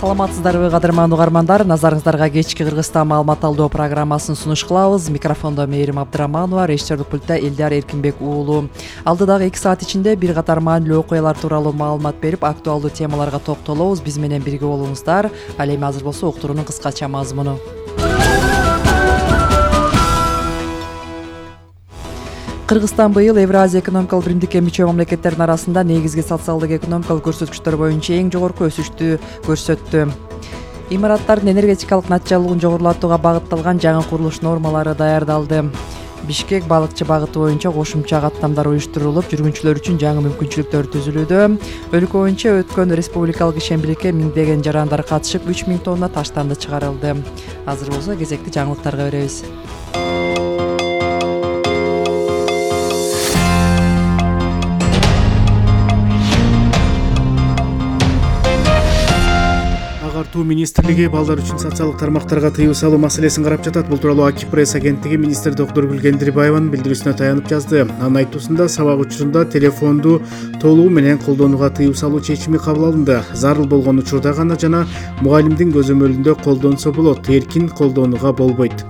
Саламатсыздарбы кадырман угармандар, назарыңыздарга кечки Кыргызстан маалымат алуу программасын сунуш кылабыз. Микрофондо Мээрим Абдыраманова, режиссерлук пультта Элдар Эркинбек уулу. Алдыдагы 2 саат ичинде бир катар маанилүү окуялар тууралуу маалымат берип, актуалдуу темаларга токтолобуз. Биз менен бирге болуңуздар. Ал эми азыр болсо уктуруунун кыскача мазмуну. Кыргызстан быйыл Евразия экономикалык биримдикке мүчө мамлекеттердин арасында негизги социалдык экономикалык көрсөткүчтөр боюнча эң жогорку өсүштү көрсөттү. Имараттардын энергетикалык натыйжалуулугун жогорулатууга багытталган жаңы курулуш нормалары даярдалды. Бишкек балыкчы багыты боюнча кошумча каттамдар уюштурулуп, жүргүнчүлөр үчүн жаңы мүмкүнчүлүктөр түзүлүүдө. Өлкө боюнча өткөн республикалык ишембиликке миңдеген жарандар катышып, 3000 тонна таштанды чыгарылды. Азыр болсо кезекти жаңылыктарга беребиз. Министрлиги балдар үчүн социалдык тармактарга тыюу салуу маселесин карап жатат. Бул тууралуу Аки пресс агенттиги министр доктор Гүлгендирбаеванын билдирүүсүнө таянып жазды. Анын айтуусунда сабак учурунда телефонду толугу менен колдонууга тыюу салуу чечими кабыл алынды. Зарыл болгон учурда гана жана мугалимдин көзөмөлүндө колдонсо болот, эркин колдонууга болбойт.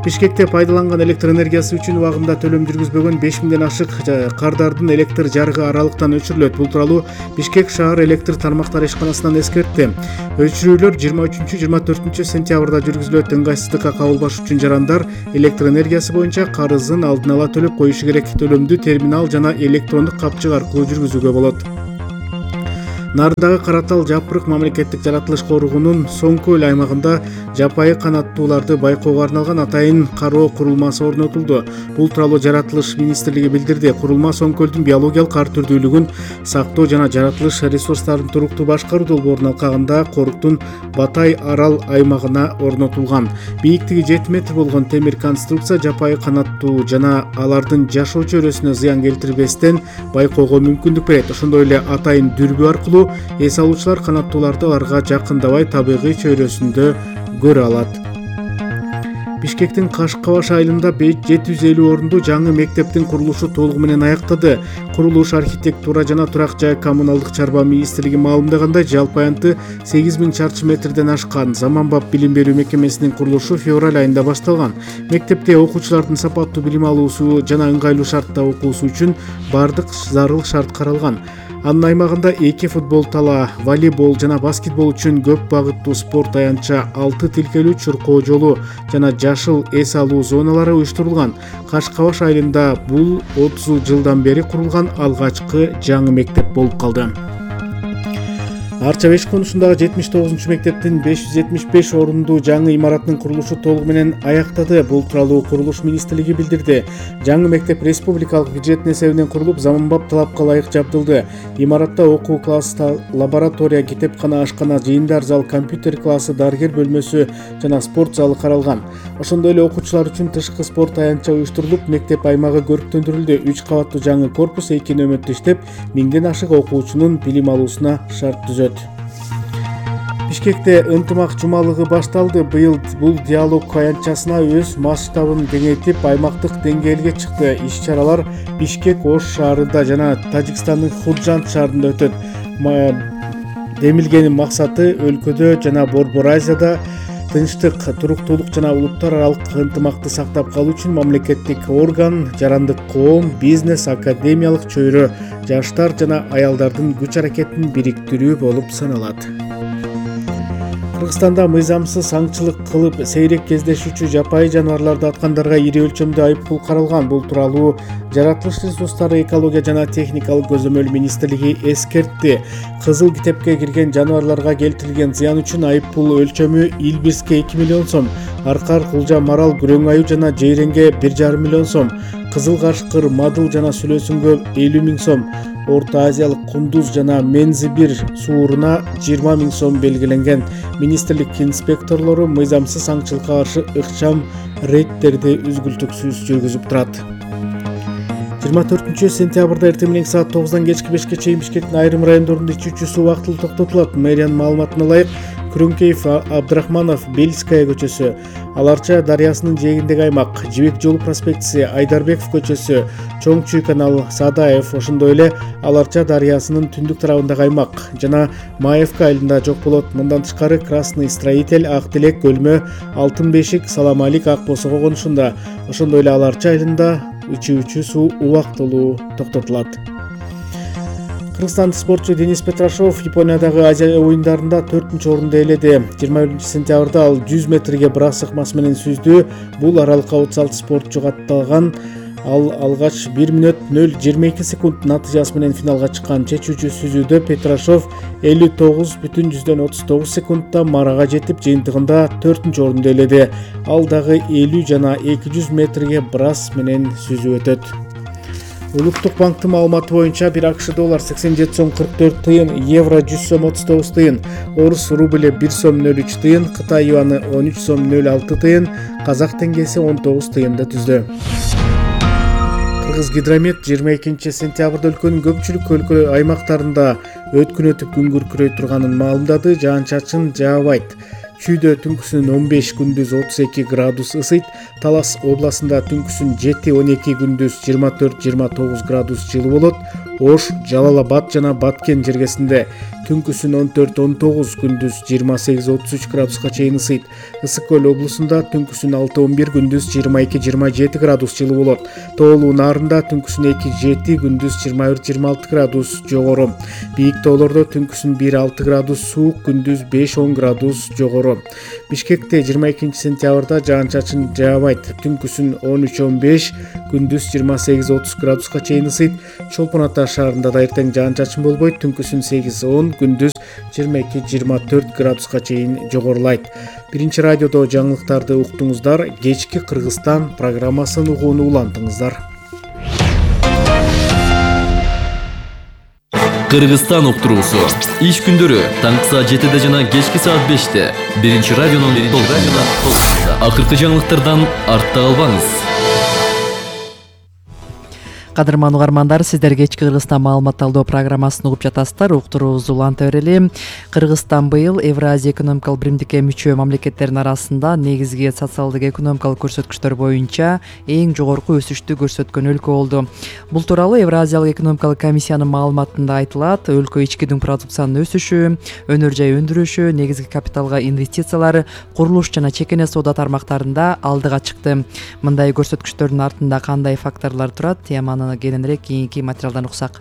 Бишкекте пайдаланган электр энергиясы үчүн убагында төлөм жүргүзбөгөн 5000ден ашык кардардын электр жарыгы аралыктан өчүрүлөт. Бул тууралуу Бишкек шаар электр тармактары ишканасынан эскертти. Өчүрүүлөр 23-24 сентябрда жүргүзүлөт. Ыңгайсыздыкка кабылбаш үчүн жарандар электр энергиясы боюнча карызын алдын ала төлөп коюшу керек. Төлөмдү терминал жана электрондук капчык аркылуу жүргүзүүгө болот. Нардагы Каратал Жапырык мамлекеттик жаратылыш коргоонунун Соңкөл аймагында жапайы канаттууларды байкоого арналган атайын кароо курулмасы орнотулду. Бул тууралуу жаратылыш министрлиги билдирди. Курулма Соңкөлдүн биологиялык ар түрдүүлүгүн сактоо жана жаратылыш ресурстарын туруктуу башкаруу долбоорун алкагында Коруктун Батай Арал аймагына орнотулган. Бийиктиги 7 метр болгон темир конструкция жапайы канаттуу жана алардын жашоо чөйрөсүнө зыян келтирбестен байкоого мүмкүндүк берет. Ошондой эле атайын дүрбү аркылуу эс алуучулар канаттууларды аларга жакындабай табигый чөйрөсүндө көрө алат. Бишкектин Кашкабаш айылында 750 орунду жаңы мектептин курулушу толугу менен аяктады. Курулуш архитектура жана турак жай коммуналдык чарба министрлиги маалымдагандай, жалпы аянты 8000 чарчы метрден ашкан. Заманбап билим берүү мекемесинин курулушу февраль айында башталган. Мектепте окуучулардын сапаттуу билим алуусу жана ыңгайлуу шартта окуусу үчүн бардык зарыл шарт каралган. Анын аймагында 2 футбол тала, волейбол жана баскетбол үчүн көп багыттуу спорт аянтча, 6 тилкелүү чуркоо жолу жана жашыл эс алуу зоналары уюштурулган. Кашкабаш айылында бул 30 жылдан бери курулган алгачкы жаңы мектеп болуп калды. Арча Беш конушундагы 79 мектептин 575 орунду жаңы имараттын курулушу толугу менен аяктады. Бул тууралуу курулуш министрлиги билдирди. Жаңы мектеп республикалык бюджеттин эсебинен курулуп, заманбап талапка ылайык жабдылды. Имаратта окуу классы, лаборатория, китепкана, ашкана, жыйындар зал, компьютер классы, дарыгер бөлмөсү жана спорт залы каралган. Ошондой эле окуучулар үчүн тышкы спорт аянтча уюштурулуп, мектеп аймагы көрктөндүрүлдү. 3 кабаттуу жаңы корпус 2 нөмөттө иштеп, 1000ден ашык окуучунун билим алуусуна шарт түзөт. Бишкекте ынтымак жумалыгы башталды. Быйыл бул диалог аянтчасына өз масштабын кеңейтип, аймактык деңгээлге чыкты. Иш-чаралар Бишкек, Ош шаарында жана Тажикстандын Худжанд шаарында өтөт. Демилгенин максаты өлкөдө жана Борбор Азияда тынчтык, туруктуулук жана улуттар аралык ынтымакты сактап калуу үчүн мамлекеттик орган, жарандык коом, бизнес, академиялык чөйрө, жаштар жана аялдардын күч аракетин бириктирүү болуп саналат. Кыргызстанда мыйзамсыз аңчылык кылып сейрек кездешүүчү жапайы жаныбарларды аткандарга ири өлчөмдө айыппул каралган. Бул тууралуу жаратылыш ресурстары, экология жана техникалык көзөмөл министрлиги эскертти. Кызыл китепке кирген жаныбарларга келтирилген зыян үчүн айыппул өлчөмү Илбирске 2 миллион сом, Аркар, Кулжа, Марал, Күрөң аю жана Жейренге 1,5 миллион сом, Кызыл Кашкыр, Мадыл жана Сүлөсүнгө 50 000 сом, Орто Азиялык Кундуз жана Мензибир сууруна 20 000 сом белгиленген. Министрлик инспекторлору мыйзамсыз аңчылыкка каршы ыкчам рейдтерди үзгүлтүксүз жүргүзүп турат. 24 сентябрда эртең менен саат 9-дан кечки 5-ке чейин Бишкектин айрым райондорунда ичүүчү суу убактылуу токтотулат. Мэриянын маалыматына ылайык, Күрөңкеев, Абдрахманов, Бельская көчөсү, Аларча дарыясынын жээгиндеги аймак, Жибек жолу проспектиси, Айдарбеков көчөсү, Чоң Чүй канал, Садаев, ошондой эле Аларча дарыясынын түндүк тарабындагы аймак жана Маевка айылында жок болот. Мындан тышкары Красный Строитель, Ак Тилек, Көлмө, Алтын Бешик, Саламалик, Ак Босого конушунда, ошондой эле Аларча айылында ичүүчү суу убактылуу токтотулат. Кыргызстандык спортчу Денис Петрашов Япониядагы Азия оюндарында 4-орунду ээледи. 21-сентябрда ал 100 метрге брас ыкмасы менен сүздү. Бул аралыкка 36 спортчу катталган. Ал алгач 1 мүнөт 0:22 секунд натыйжасы менен финалга чыккан. Чечүүчү сүзүүдө Петрашов 59,39 секундта марага жетип, жыйынтыгында 4-орунду ээледи. Ал дагы 50 жана 200 метрге брас менен сүзүп өтөт. Улуттук банктын маалыматы боюнча 1 АКШ доллар 87 сом 44 тыйын, евро 100 сом 39 тыйын, орус рублі 1 сом 03 тыйын, Кытай юаны 13 сом 06 тыйын, казак теңгеси 19 тыйынды түздү. Кыргызгидромет 22 сентябрда өлкөнүн көпчүлүк аймактарында өткүн өтүп күн күркүрөй турганын маалымдады. Жаан-чачын жаабайт. Чүйдө түнкүсүн 15, күндүз 32 градус ысыйт. Талас областында түнкүсүн 7-12, күндүз 24-29 градус жылы болот. Ош, Жалал-Абад жана Баткен жергесинде түнкүсүн 14-19, күндүз 28-33 градуска чейин ысыйт. Ысык көл облусунда түнкүсүн 6-11, күндүз 22-27 градус жылы болот. Тоолуу Нарында түнкүсүн 2-7, күндүз 21-26 градус жогору. Бийик тоолордо түнкүсүн 1-6 градус суук, күндүз 5-10 градус жогору. Бишкекте 22 сентябрда жаан-чачын жаабайт. Түнкүсүн 13-15, күндүз 28-30 градуска чейин ысыйт. Чолпон Ата шаарында да эртең жаан-чачын болбойт. Түнкүсүн 8-10, күндүз 22-24 градуска чейин жогорулайт. Биринчи радиодо жаңылыктарды уктуңуздар. Кечки Кыргызстан программасын угууну улантыңыздар. Кыргызстан уктуруусу. Иш күндөрү таңкы саат 7 жана кечки саат 5 биринчи радионун толкунунда. Акыркы жаңылыктардан артта калбаңыз. Кадырман угармандар, сиздер кечки Кыргызстан маалымат талдоо программасын угуп жатасыздар. Уктуруубузду уланта берели. Кыргызстан быйыл Евразия экономикалык биримдикке мүчө мамлекеттердин арасында негизги социалдык экономикалык көрсөткүчтөр боюнча эң жогорку өсүштү көрсөткөн өлкө болду. Бул тууралуу Евразиялык экономикалык комиссиянын маалыматында айтылат. Өлкө ички дүң продукциянын өсүшү, өнөр жай өндүрүшү, негизги капиталга инвестициялар, курулуш жана чекене соода тармактарында алдыга чыкты. Мындай көрсөткүчтөрдүн артында кандай факторлор турат? Теманы кененирээк кийинки материалдан уксак.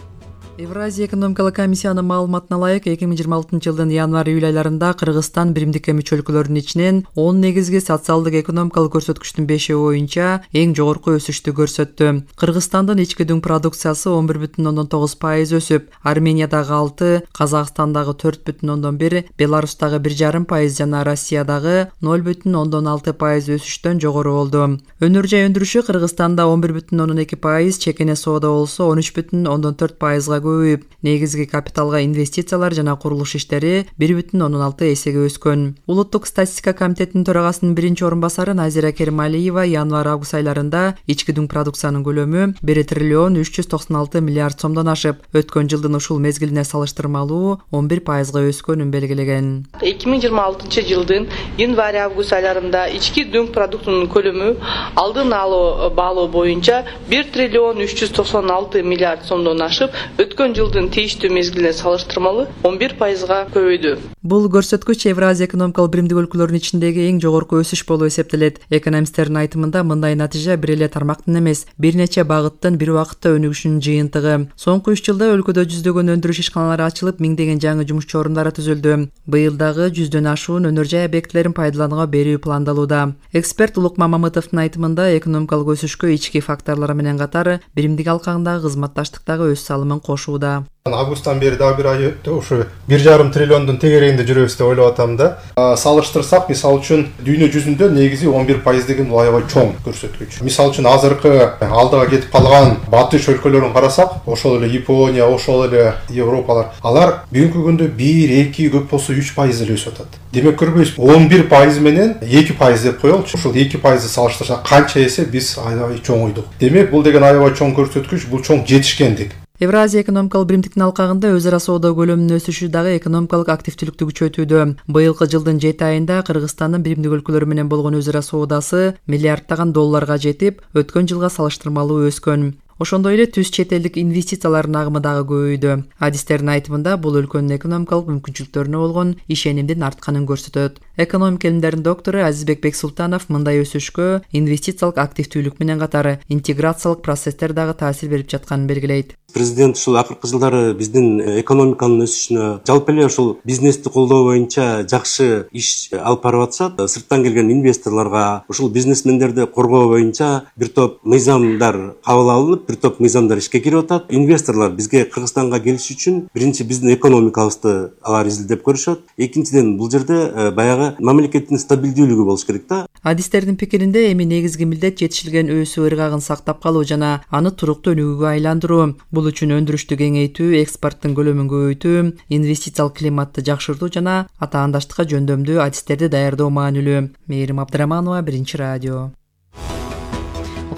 Евразия экономикалык комиссиянын маалыматына ылайык 2026 жылдын январь-июль айларында Кыргызстан биримдикке мүчө өлкөлөрдүн ичинен 10 негизги социалдык экономикалык көрсөткүчтүн 5 боюнча эң жогорку өсүштү көрсөттү. Кыргызстандын ички дүң продукциясы 11,9% өсүп, Армениядагы 6, Казакстандагы 4,1, Беларустагы 1,5% жана Россиядагы 0,6% өсүштөн жогору болду. Өнөр жай өндүрүшү Кыргызстанда 11,2%, чекене соода болсо 13,4%-га көбөйүп, негизги капиталга инвестициялар жана курулуш иштери 1,6 эсеге өскөн. Улуттук статистика комитетинин төрагасынын биринчи орун басары Назира Керималиева январь-август айларында ички дүң продукциянын көлөмү 1 триллион 396 миллиард сомдон ашып, өткөн жылдын ушул мезгилине салыштырмалуу 11%-га өскөнүн белгилеген. 2026 жылдын январь-август айларында ички дүң продуктунун көлөмү алдын алуу баалоо боюнча 1 триллион 396 миллиард сомдон ашып, өткөн жылдын тийиштүү мезгилине салыштырмалуу 11%-га көбөйдү. Бул көрсөткүч Евразия экономикалык биримдик өлкөлөрүнүн ичиндеги эң жогорку өсүш болуп эсептелет. Экономисттердин айтымында мындай натыйжа бир эле тармактын эмес, бир нече багыттын бир убакытта өнүгүшүнүн жыйынтыгы. Соңку 3 жылда өлкөдө жүздөгөн өндүрүш ишканалары ачылып, миңдеген жаңы жумушчу орундары түзүлдү. Быйыл дагы 100дөн ашуун өнөр жай объектилерин пайдаланууга берүү пландалууда. Эксперт Улукман Мамытовдун айтымында экономикалык өсүшкө ички факторлор менен катар биримдик алкагындагы кызматташтыктагы өз салымын кошууда. Августтан бери дагы бир ай өттү, ушу 1,5 триллиондун тегерегинде жүрөбүз деп ойлоп атам да. Салыштырсак, мисалы үчүн дүйнө жүзүндө негизи 11% деген бул аябай чоң көрсөткүч. Мисалы үчүн азыркы алдыга кетип калган батыш өлкөлөрүн карасак, ошол эле Япония, ошол эле Европалар, алар бүгүнкү күндө 1-2 көп болсо 3% эле өсүп атат. Демек көрбөйсүз, 11% менен 2% деп коелучу. Ушул 2% салыштырсак канча эсе биз аябай чоңойдук. Демек бул деген аябай чоң көрсөткүч, бул чоң жетишкендик. Евразия экономикалык биримдиктин алкагында өз ара соода көлөмүнүн өсүшү дагы экономикалык активдүүлүктү күчөтүүдө. Быйылкы жылдын 7 айында Кыргызстандын биримдик өлкөлөр менен болгон өз ара соодасы миллиарддаган долларга жетип, өткөн жылга салыштырмалуу өскөн. Ошондой эле түз чет элдик инвестициялардын агымы дагы көбөйдү. Адистердин айтымында бул өлкөнүн экономикалык мүмкүнчүлүктөрүнө болгон ишенимдин артканын көрсөтөт. Экономика илимдеринин доктору Азизбек Бексултанов мындай өсүшкө инвестициялык активдүүлүк менен катары интеграциялык процесстер дагы таасир берип жатканын белгилейт. Президент ушул акыркы жылдары биздин экономиканын өсүшүнө, жалпы эле ушул бизнести колдоо боюнча жакшы иш алып барып атышат. Сырттан келген инвесторлорго, ушул бизнесмендерди коргоо боюнча бир топ мыйзамдар кабыл алынып, бир топ мыйзамдар ишке кирип атат. Инвесторлор бизге Кыргызстанга келиш үчүн биринчи биздин экономикабызды алар изилдеп көрүшөт. Экинчиден, бул жерде баягы мамлекеттин стабилдүүлүгү болуш керек да. Адистердин пикиринде эми негизги милдет жетишилген өсүү ыргагын сактап калуу жана аны туруктуу өнүгүүгө айландыруу. Бул үчүн өндүрүштү кеңейтүү, экспорттун көлөмүн көбөйтүү, инвестициялык климатты жакшыртуу жана атаандаштыкка жөндөмдүү адистерди даярдоо маанилүү. Мээрим Абдыраманова, Биринчи радио.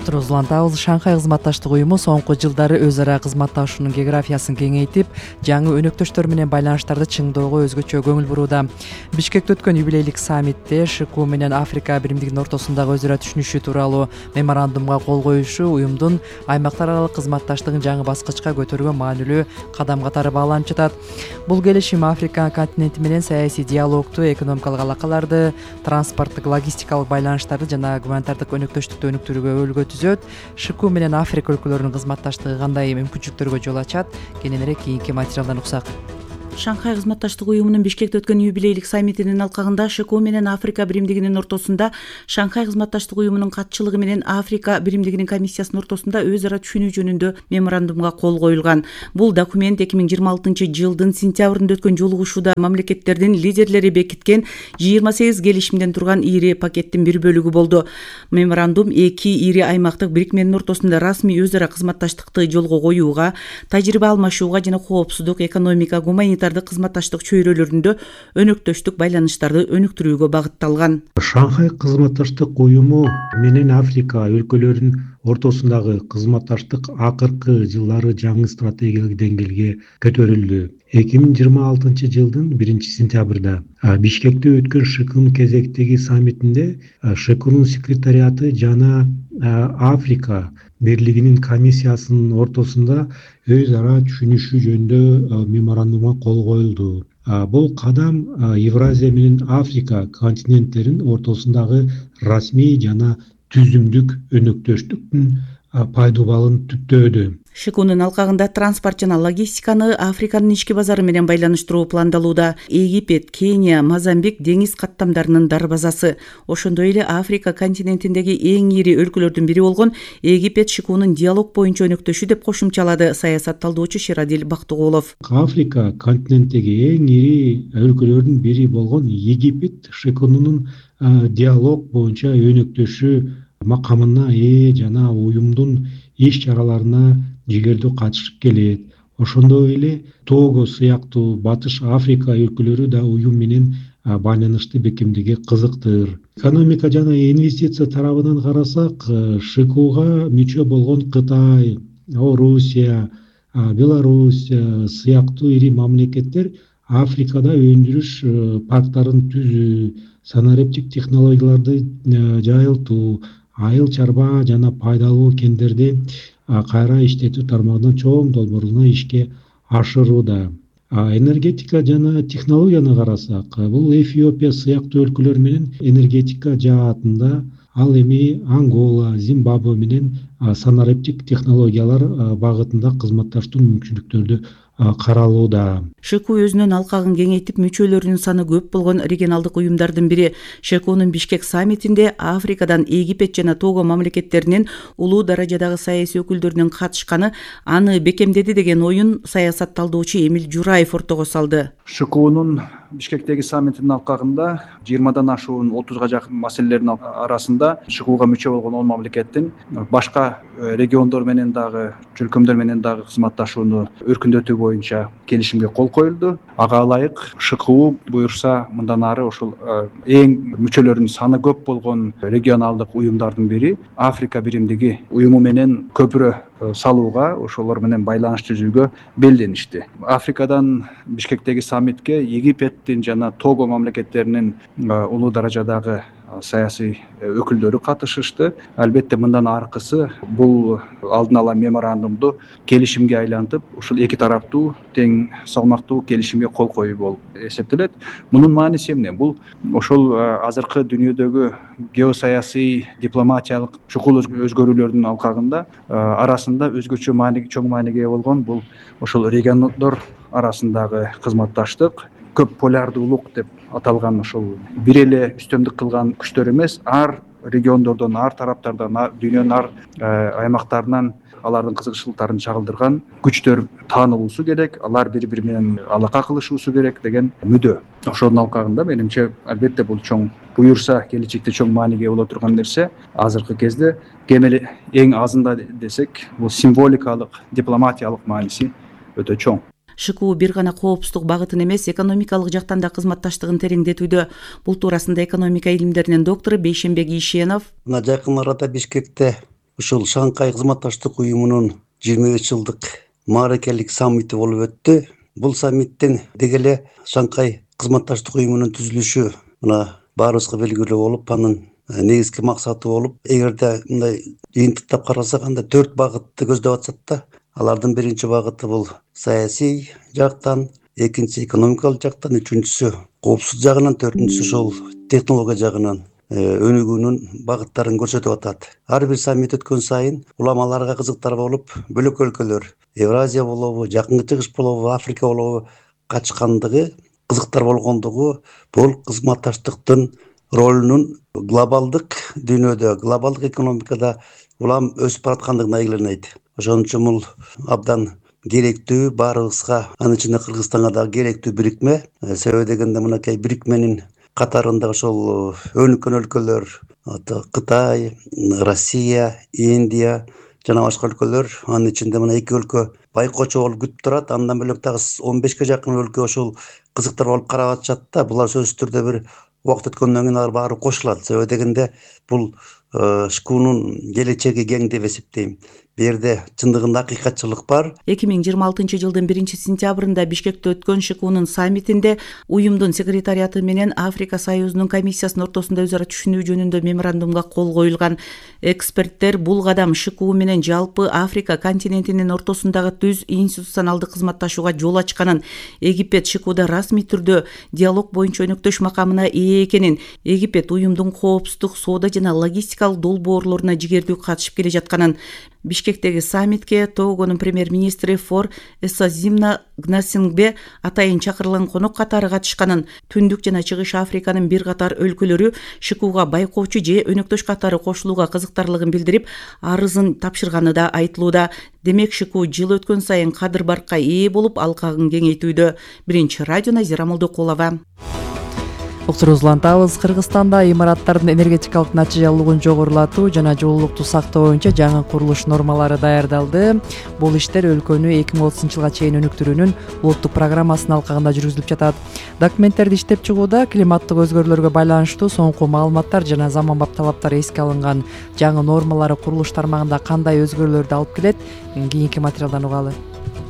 Улантабыз. Шанхай кызматташтык уюму соңку жылдары өз ара кызматташуунун географиясын кеңейтип, жаңы өнөктөштөр менен байланыштарды чыңдоого өзгөчө көңүл бурууда. Бишкекте өткөн юбилейлик саммитте ШКУ менен Африка биримдигинин ортосундагы өз ара түшүнүшү тууралуу меморандумга кол коюшу уюмдун аймактар аралык кызматташтыгын жаңы баскычка көтөрүүгө маанилүү кадам катары бааланып жатат. Бул келишим Африка континенти менен саясий диалогту, экономикалык алакаларды, транспорттук, логистикалык байланыштарды жана гуманитардык өнөктөштүктү өнүктүрүүгө өлгө түзөт. ШКУ менен Африка өлкөлөрүнүн кызматташтыгы кандай мүмкүнчүлүктөргө жол ачат? Кененирээк кийинки материалдан уксак. Шанхай кызматташтык уюмунун Бишкекте өткөн юбилейлик саммитинин алкагында ШКУ менен Африка биримдигинин ортосунда Шанхай кызматташтык уюмунун катчылыгы менен Африка биримдигинин комиссиясынын ортосунда өз ара түшүнүү жөнүндө меморандумга кол коюлган. Бул документ 2026 жылдын сентябрында өткөн жолугушууда мамлекеттердин лидерлери бекиткен 28 келишимден турган ири пакеттин бир бөлүгү болду. Меморандум эки ири аймактык бирикменин ортосунда расмий өз ара кызматташтыкты жолго коюуга, тажрыйба алмашууга жана коопсуздук, экономика, гуманитардык кызматташтык чөйрөлөрүндө өнөктөштүк байланыштарды өнүктүрүүгө багытталган. Шанхай кызматташтык уюму менен Африка өлкөлөрүнүн ортосундагы кызматташтык акыркы жылдары жаңы стратегиялык деңгээлге көтөрүлдү. 2026 жылдын 1 сентябрда Бишкекте өткөн ШКУнун кезектеги саммитинде ШКУнун секретариаты жана Африка бирлигинин комиссиясынын ортосунда өз ара түшүнүшүү жөнүндө меморандумга кол коюлду. Бул кадам Евразия менен Африка континенттеринин ортосундагы расмий жана түзүмдүк өнөктөштүктүн пайдубалын түптөөдү. ШКУнун алкагында транспорт жана логистиканы Африканын ички базары менен байланыштыруу пландалууда. Египет, Кения, Мозамбик деңиз каттамдарынын дарбазасы. Ошондой эле Африка континентиндеги эң ири өлкөлөрдүн бири болгон Египет ШКУнун диалог боюнча өнөктөшү деп кошумчалады саясат талдоочу Шерадил Бактыгулов. Африка континентиндеги эң ири өлкөлөрдүн бири болгон Египет ШКУнун диалог боюнча өнөктөшү макамына ээ жана уюмдун иш чараларына жигердүү катышып келет. Ошондой эле Того сыяктуу Батыш Африка өлкөлөрү да уюм менен байланышты бекемдеге кызыктыр. Экономика жана инвестиция тарабынан карасак, ШКУга мүчө болгон Кытай, Орусия, Беларусь сыяктуу ири мамлекеттер Африкада өндүрүш парктарын түзүү, санариптик технологияларды жайылтуу, айыл чарба жана пайдалуу кендерди кайра иштетүү тармагынан чоң долбоорлорун ишке ашырууда. Энергетика жана технологияны карасак, бул Эфиопия сыяктуу өлкөлөр менен энергетика жаатында, ал эми Ангола, Зимбабве менен санариптик технологиялар багытында кызматташтуу мүмкүнчүлүктөрдү каралууда. ШКУ өзүнүн алкагын кеңейтип, мүчөлөрүнүн саны көп болгон регионалдык уюмдардын бири. ШКУнун Бишкек саммитинде Африкадан Египет жана Того мамлекеттеринин улуу даражадагы саясий өкүлдөрүнүн катышканы аны бекемдеди деген оюн саясат талдоочу Эмил Жураев ортого салды. ШКУнун Бишкектеги саммитинин алкагында 20дан ашуун 30га жакын маселелердин арасында ШКУга мүчө болгон 10 мамлекеттин башка региондор менен дагы, чөлкөмдөр менен дагы кызматташууну өркүндөтүү боюнча келишимге кол коюлду. Ага ылайык ШКУ буюрса мындан ары ошол эң мүчөлөрүнүн саны көп болгон регионалдык уюмдардын бири Африка биримдиги уюму менен көпүрө салууга, ошолор менен байланыш түзүүгө белденишти. Африкадан Бишкектеги саммитке Египеттин жана Того мамлекеттеринин улуу даражадагы саясий өкүлдөрү катышышты. Албетте мындан аркысы бул алдын ала меморандумду келишимге айлантып, ушул эки тараптуу тең салмактуу келишимге кол коюу болуп эсептелет. Мунун мааниси эмне? Бул ошол азыркы дүйнөдөгү геосаясий, дипломатиялык чукул өзгөрүүлөрдүн алкагында арасында өзгөчө чоң мааниге ээ болгон бул ошол региондор арасындагы кызматташтык, көп полярдуулук деп аталган ошол бир эле үстөмдүк кылган күчтөр эмес, ар региондордон, ар тараптардан, дүйнөнүн ар аймактарынан алардын кызыкчылыктарын чагылдырган күчтөр таанылуусу керек, алар бири-бири менен алака кылышуусу керек деген мүдө. Ошонун алкагында менимче албетте бул чоң буюрса келечекте чоң мааниге боло турган нерсе. Азыркы кезде кем эле эң азында десек, бул символикалык, дипломатиялык мааниси өтө чоң. ШКУ бир гана коопсуздук багытын эмес, экономикалык жактан да кызматташтыгын тереңдетүүдө. Бул туурасында экономика илимдеринин доктору Бейшенбек Ишенов мына жакын арада Бишкекте ушул Шанхай кызматташтык уюмунун 25 жылдык мааракелик саммити болуп өттү. Бул саммиттин деги эле Шанхай кызматташтык уюмунун түзүлүшү мына баарыбызга белгилүү болуп, анын негизги максаты болуп, эгерде мындай жыйынтыктап карасак, анда 4 багытты көздөп атышат да. Алардын биринчи багыты бул саясий жактан, экинчиси экономикалык жактан, үчүнчүсү коопсуздук жагынан, төртүнчүсү ошол технология жагынан өнүгүүнүн багыттарын көрсөтүп атат. Ар бир саммит өткөн сайын уламаларга кызыктар болуп, бөлөк өлкөлөр, Евразия болобу, Жакынкы Чыгыш болобу, Африка болобу катышкандыгы, кызыктар болгондугу бул кызматташтыктын ролунун глобалдык дүйнөдө, глобалдык экономикада улам өсүп бараткандыгына илгиленет. Ошон үчүн бул абдан керектүү, баарыбызга, анын ичинде Кыргызстанга дагы керектүү бирикме. Себеби дегенде мынакей бирикменин катарында ошол өнүккөн өлкөлөр, Кытай, Россия, Индия жана башка өлкөлөр, анын ичинде мына эки өлкө байкоочу болуп күтүп турат. Андан бөлөк дагы 15ке жакын өлкө ошол кызыктар болуп карап атышат да. Булар сөзсүз түрдө бир убакыт өткөндөн кийин алар баары кошулат. Себеби дегенде бул ШКУнун келечеги кең деп эсептейм. Бу жерде чындыгында акыйкатчылык бар. 2026 жылдын 1-сентябрында Бишкекте өткөн ШКУнун саммитинде уюмдун секретариаты менен Африка Союзунун комиссиясынын ортосунда өз ара түшүнүү жөнүндө меморандумга кол коюлган. Эксперттер бул кадам ШКУ менен жалпы Африка континентинин ортосундагы түз институционалдык кызматташууга жол ачканын, Египет ШКУда расмий түрдө диалог боюнча өнөктөш макамына ээ экенин, Египет уюмдун коопсуздук, соода жана логистикалык долбоорлоруна жигердүү катышып келе жатканын, Бишкектеги саммитке Тогонун премьер-министри Фор Эссазимна Гнасингбе атайын чакырылган конок катары катышканын, Түндүк жана Чыгыш Африканын бир катар өлкөлөрү ШКУга байкоочу же өнөктөш катары кошулууга кызыктарлыгын билдирип, арызын тапшырганы да айтылууда. Демек ШКУ жыл өткөн сайын кадыр баркка ээ болуп, алкагын кеңейтүүдө. Биринчи радио Назира Молдокулова. Уктурубузду улантабыз. Кыргызстанда имараттардын энергетикалык натыйжалуулугун жогорулатуу жана жылуулукту сактоо боюнча жаңы курулуш нормалары даярдалды. Бул иштер өлкөнү 2030 жылга чейин өнүктүрүүнүн улуттук программасынын алкагында жүргүзүлүп жатат. Документтерди иштеп чыгууда климаттык өзгөрүүлөргө байланыштуу соңку маалыматтар жана заманбап талаптар эске алынган. Жаңы нормалары курулуш тармагында кандай өзгөрүүлөрдү алып келет? Кийинки материалдан угалы.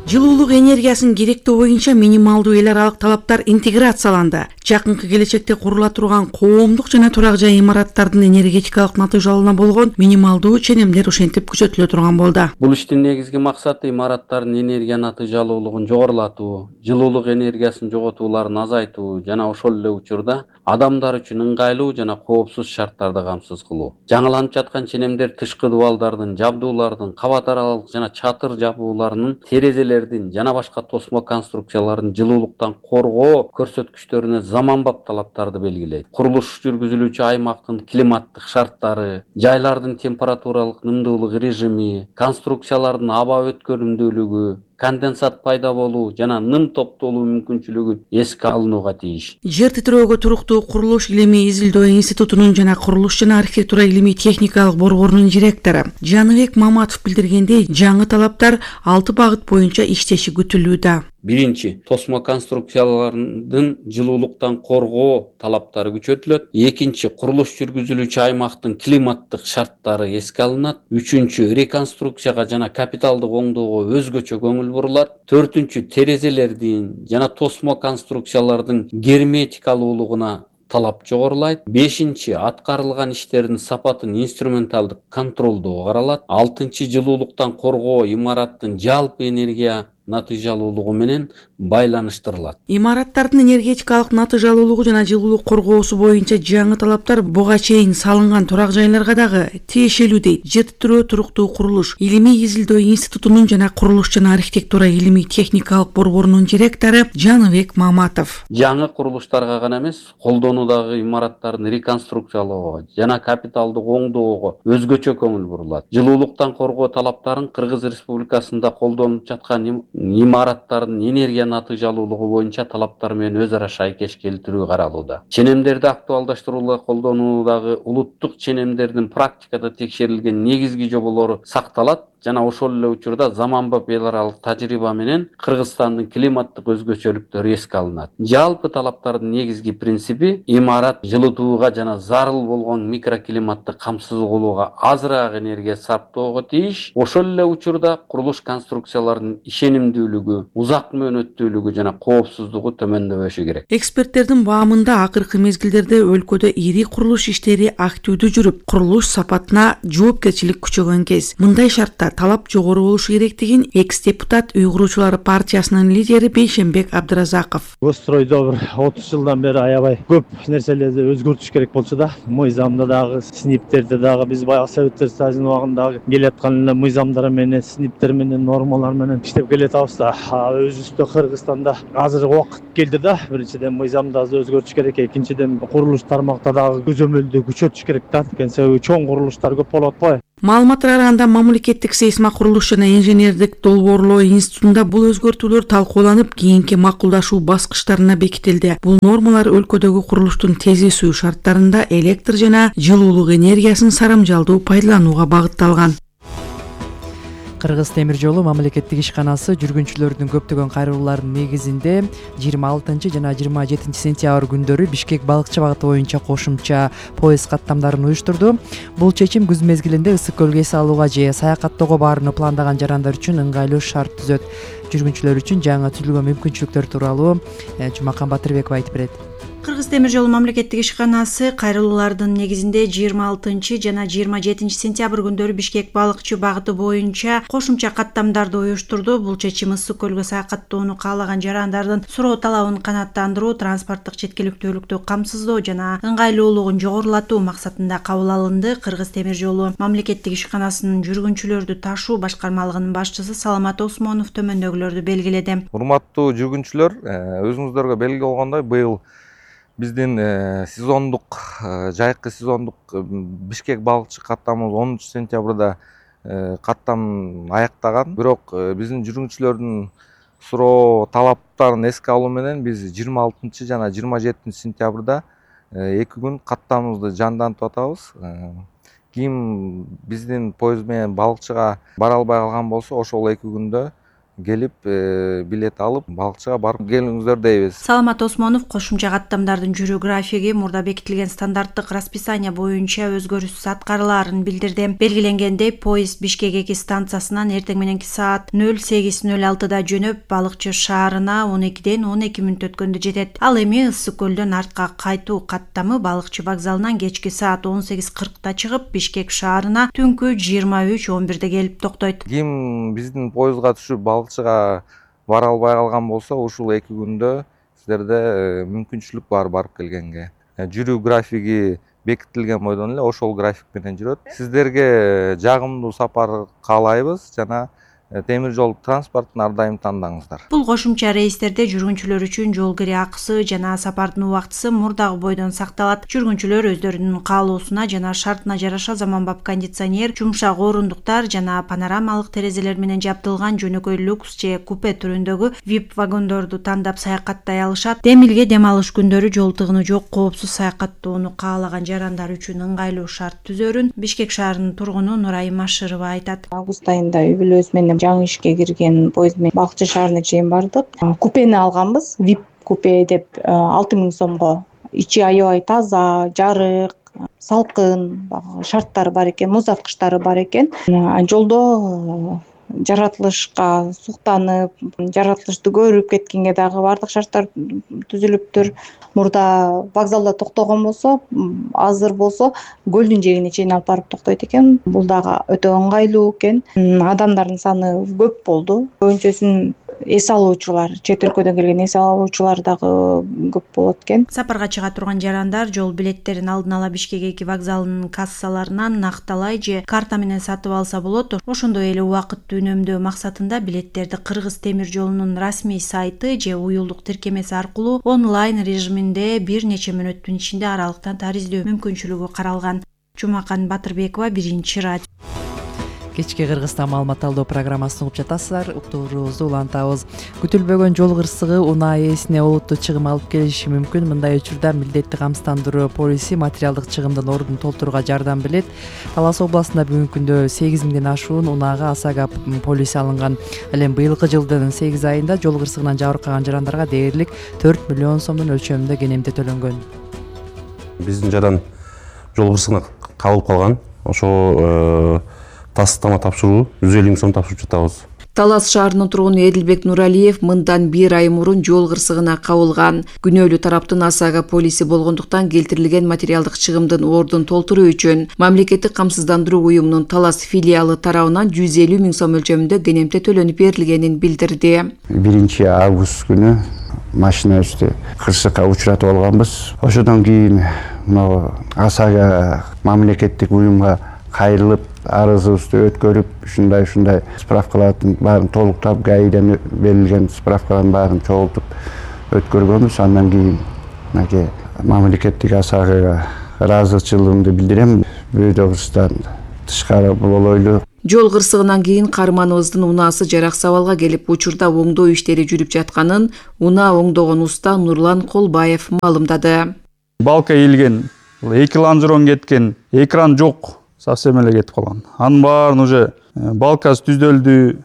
Жылуулук энергиясын керектөө боюнча минималдуу эл аралык талаптар интеграцияланды. Жакынкы келечекте курула турган коомдук жана турак жай имараттардын энергетикалык натыйжалуулуна болгон минималдуу ченемдер ошентип күчөтүлө турган болду. Бул иштин негизги максаты имараттардын энергия натыйжалуулугун жогорулатуу, жылуулук энергиясын жоготууларын азайтуу жана ошол эле учурда адамдар үчүн ыңгайлуу жана коопсуз шарттарды камсыз кылуу. Жаңыланып жаткан ченемдер тышкы дубалдардын, жабдуулардын, кабат аралык жана чатыр жабууларынын, терезелердин жана башка тосмо конструкциялардын жылуулуктан коргоо көрсөткүчтөрүнө заманбап талаптарды белгилейт. Курулуш жүргүзүлүүчү аймактын климаттык шарттары, жайлардын температуралык нымдуулук режими, конструкциялардын аба өткөрүмдүүлүгү, конденсат пайда болуу жана ным топтолуу мүмкүнчүлүгү эске алынууга тийиш. Жер титирөөгө туруктуу курулуш илимий изилдөө институтунун жана курулуш жана архитектура илимий техникалык борборунун директору Жаныбек Маматов билдиргендей, жаңы талаптар 6 багыт боюнча иштеши күтүлүүдө. Биринчи, тосмо конструкциялардын жылуулуктан коргоо талаптары күчөтүлөт. Экинчи, курулуш жүргүзүлүүчү аймактын климаттык шарттары эске алынат. Үчүнчү, реконструкцияга жана капиталдык оңдоого өзгөчө көңүл бурулат. Төртүнчү, терезелердин жана тосмо конструкциялардын герметикалуулугуна талап жогорулайт. Бешинчи, аткарылган иштердин сапатын инструменталдык контролдоо каралат. Алтынчы, жылуулуктан коргоо имараттын жалпы энергия натыйжалуулугу менен байланыштырылат. Имараттардын энергетикалык натыйжалуулугу жана жылуулук коргоосу боюнча жаңы талаптар буга чейин салынган турак жайларга дагы тиешелүү дейт ЖТТРО туруктуу курулуш илимий изилдөө институтунун жана курулуш жана архитектура илимий техникалык борборунун директору Жаныбек Маматов. Жаңы курулуштарга гана эмес, колдонуудагы имараттардын реконструкциялоого жана капиталдык оңдоого өзгөчө көңүл бурулат. Жылуулуктан коргоо талаптарын Кыргыз Республикасында колдонуп жаткан имараттардын энергия натыйжалуулугу боюнча талаптар менен өз ара шайкеш келтирүү каралууда. Ченемдерди актуалдаштырууга колдонуудагы улуттук ченемдердин практикада текшерилген негизги жоболору сакталат жана ошол эле учурда заманбап эл аралык тажрыйба менен Кыргызстандын климаттык өзгөчөлүктөрү эске алынат. Жалпы талаптардын негизги принципи имарат жылытууга жана зарыл болгон микроклиматты камсыз кылууга азыраак энергия сарптоого тийиш. Ошол эле учурда курулуш конструкцияларынын ишенимдүүлүгү, узак мөөнөттүүлүгү жана коопсуздугу төмөндөбөшү керек. Эксперттердин баамында акыркы мезгилдерде өлкөдө ири курулуш иштери активдүү жүрүп, курулуш сапатына жоопкерчилик күчөгөн кез. Мындай шартта талап жогору болушу керектигин экс-депутат Үй куруучулары партиясынын лидери Бейшенбек Абдыразаков. Стройдо бир 30 жылдан бери аябай көп нерселерди өзгөртүш керек болчу да. Мыйзамда дагы, СНИПтерде дагы биз баягы Советтер Союзунун убагындагы келаткан эле мыйзамдар менен, СНИПтер менен, нормалар менен иштеп келатабыз да. Өзүбүздө Кыргызстанда азыр убакыт келди да. Биринчиден мыйзамды өзгөртүш керек, экинчиден курулуш тармакта дагы көзөмөлдү күчөтүш керек да. Себеби чоң курулуштар көп болот го. Маалыматтарга караганда мамлекеттик сейсма курулуш жана инженердик долбоорлоо институтунда бул өзгөртүүлөр талкууланып, кийинки макулдашуу баскычтарына бекитилди. Бул нормалар өлкөдөгү курулуштун тезисүү шарттарында электр жана жылуулук энергиясын сарамжалдуу пайдаланууга багытталган. Кыргыз темир жолу мамлекеттик ишканасы жүргүнчүлөрдүн көптөгөн кайрылууларынын негизинде 26 жана 27 сентябрь күндөрү Бишкек балыкчы багыты боюнча кошумча поезд каттамдарын уюштурду. Бул чечим күз мезгилинде ысык көлгө эс алууга же саякаттоого баарууну пландаган жарандар үчүн ыңгайлуу шарт түзөт. Жүргүнчүлөр үчүн жаңы түзүлгөн мүмкүнчүлүктөр тууралуу Жумакан Батырбеков айтып берет. Кыргыз темир жолу мамлекеттик ишканасы кайрылуулардын негизинде 26 жана 27 сентябрь күндөрү Бишкек балыкчы багыты боюнча кошумча каттамдарды уюштурду. Бул чечим ысык көлгө саякаттоону каалаган жарандардын суроо талабын канааттандыруу, транспорттук четкиликтүүлүктү камсыздоо жана ыңгайлуулугун жогорулатуу максатында кабыл алынды. Кыргыз темир жолу мамлекеттик ишканасынын жүргүнчүлөрдү ташуу башкармалыгынын башчысы Саламат Осмонов төмөндөгүлөрдү белгиледи. Урматтуу жүргүнчүлөр, өзүңүздөргө белгилүү болгондой, быйыл биздин сезондук, жайкы сезондук Бишкек балыкчы каттамыбыз 10 сентябрда каттам аяктаган. Бирок биздин жүргүнчүлөрдүн суроо талаптарын эске алуу менен биз 26 жана 27 сентябрда 2 күн каттамыбызды жандантып атабыз. Ким биздин поезд менен балыкчыга бара албай калган болсо, ошол 2 күндө келип билет алып балыкчыга барып келиңиздер дейбиз. Саламат Осмонов кошумча каттамдардын жүрүү графиги мурда бекитилген стандарттык расписание боюнча өзгөрүүсүз аткарылаарын билдирди. Белгиленгендей, поезд Бишкек 2 станциясынан эртең мененки саат 08:06 жөнөп, балыкчы шаарына 12ден 12 мүнөт өткөндө жетет. Ал эми ысык көлдөн артка кайтуу каттамы балыкчы вокзалынан кечки саат 18:40 чыгып, Бишкек шаарына түнкү 23:11 келип токтойт. Ким биздин поездга түшүп балыкчыга бара албай калган болсо, ушул 2 күндө силерде мүмкүнчүлүк бар барып келгенге. Жүрүү графиги бекитилген бойдон эле ошол график менен жүрөт. Сиздерге жагымдуу сапар каалайбыз жана темир жол транспортун ар дайым тандаңыздар. Бул кошумча рейстерде жүргүнчүлөр үчүн жол кире акысы жана сапардын убактысы мурдагы бойдон сакталат. Жүргүнчүлөр өздөрүнүн каалоосуна жана шартына жараша заманбап кондиционер, жумшак орундуктар жана панорамалык терезелер менен жабдылган жөнөкөй люкс же купе түрүндөгү VIP вагондорду тандап саякаттай алышат. Демилге дем алыш күндөрү жол тыгыны жок, коопсуз саякаттоону каалаган жарандар үчүн ыңгайлуу шарт түзөрүн Бишкек шаарынын тургуну Нурайым Машырова айтат. Август айында үй бүлөбүз менен жаңы ишке кирген поезд менен Балыкчы шаарына чейин бардык. Купени алганбыз, VIP купе деп 6000 сомго. Ичи аябай таза, жарык, салкын, шарттары бар экен, муз аткычтары бар экен. Жолдо жаратылышка суктанып, жаратылышты көрүп кеткенге дагы бардык шарттар түзүлүптүр. Мурда вокзалда токтогон болсо, азыр болсо көлдүн жээгине чейин алып барып токтойт экен. Бул дагы өтө ыңгайлуу экен. Адамдардын саны көп болду. Көбүнчөсүн эс алуучулар, чет өлкөдөн келген эс алуучулар дагы көп болот экен. Сапарга чыга турган жарандар жол билеттерин алдын ала Бишкек 2 вокзалынын кассаларынан накталай же карта менен сатып алса болот. Ошондой эле убакытты үнөмдөө максатында билеттерди Кыргыз темир жолунун расмий сайты же уюлдук тиркемеси аркылуу онлайн режиминде бир нече мүнөттүн ичинде аралыктан тарыздөө мүмкүнчүлүгү каралган. Жумакан Батырбекова, Биринчи радио. Кечки Кыргызстан маалымат алуу программасын угуп жатасыздар. Уктуруубузду улантабыз. Күтүлбөгөн жол кырсыгы унаа ээсине олуттуу чыгым алып келиши мүмкүн. Мындай учурда милдеттик камсыздандыруу полиси материалдык чыгымдын ордун толтурууга жардам берет. Талас областында бүгүнкү күндө 8000ден ашуун унаага АСАГА полиси алынган. Ал эми быйылкы жылдын 8 айында жол кырсыгынан жабыркаган жарандарга дээрлик 4 миллион сомдун өлчөмүндө кенемде төлөнгөн. Биздин жаран жол кырсыгына кабылып калган. Ошо тастама тапшыруу 150 миң сом тапшырып жатабыз. Талас шаарынын тургуну Эдилбек Нуралиев мындан 1 ай мурун жол кырсыгына кабылган. Күнөөлүү тараптын АСАГА полиси болгондуктан келтирилген материалдык чыгымдын ордун толтуруу үчүн мамлекеттик камсыздандыруу уюмунун Талас филиалы тарабынан 150 миң сом өлчөмүндө кенемте төлөнүп берилгенин билдирди. 1 август күнү машина үстү кырсыкка учуратып алганбыз. Ошодон кийин АСАГА мамлекеттик уюмга кайрылып, арызыбызды өткөрүп, ушундай справкалардын баарын толуктап, ГАИден берилген справкалардын баарын чогултуп өткөргөнбүз. Андан кийин мамлекеттик АСАГАга ыраазычылыгымды билдирем. Бөйдөгүстан тышкары болойлу. Жол кырсыгынан кийин каарманыбыздын унаасы жарак сабалга келип, учурда оңдоо иштери жүрүп жатканын унаа оңдогон уста Нурлан Колбаев маалымдады. Балка ийилген, 2 лонжерон кеткен, экран жок. Совсем эле кетип калган. Анын баарын уже балкасы түздөлдү,